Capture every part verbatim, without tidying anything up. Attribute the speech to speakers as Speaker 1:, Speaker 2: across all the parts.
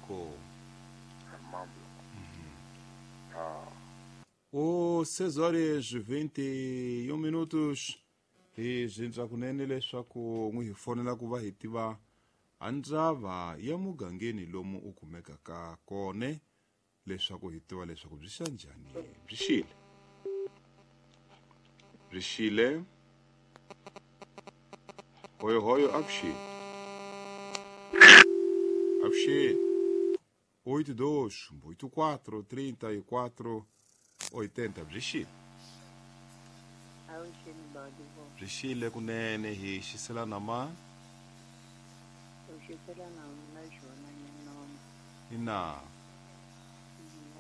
Speaker 1: Inkomu.
Speaker 2: Mambo. Ah,
Speaker 1: O seis horas vinte e um minutos hi zindza kunene leswaku n'wi hi fonela ku va hi tiva a ndzava ya mugangeni lomu u kumekaka kone leswaku hi tiva leswaku byi xa njhani byi xile byi xile hoyohoyo avuxeni avuxeni oito dois oito quatro trinta e quatro oitenta byi xile
Speaker 3: Avuxeni badi vo.
Speaker 1: byi xile kunene hi xiselana ma
Speaker 3: U xiselana na xona nyinona.
Speaker 1: ina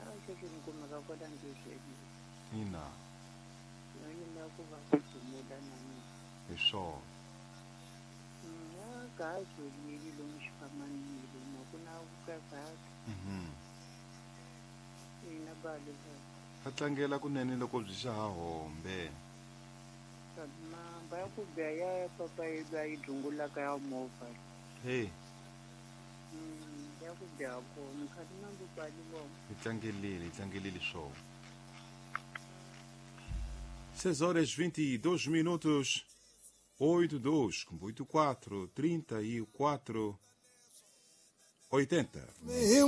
Speaker 3: A xexi ni kumeka kwala ndleleni.
Speaker 1: ina
Speaker 3: No yimela ku va ku dumula na mina.
Speaker 1: hi swona
Speaker 3: Ya gazi leli lomu xifamanini lomu a ku na ka gazi.
Speaker 1: Mhm.
Speaker 3: Ina badi vo.
Speaker 1: Va tlangela kunene loko byi xa ha hombe
Speaker 3: Mamba ya ku biha ya papa yi ba yi dungulaka ya movha.
Speaker 1: hey
Speaker 3: Mm, ya ku biha kona khati mambo badi vo.
Speaker 1: hi tlangelile hi tlangelile swona seis horas vinte e dois minutos oito dois oito quatro trinta e quatro oitenta.
Speaker 4: Hinkwa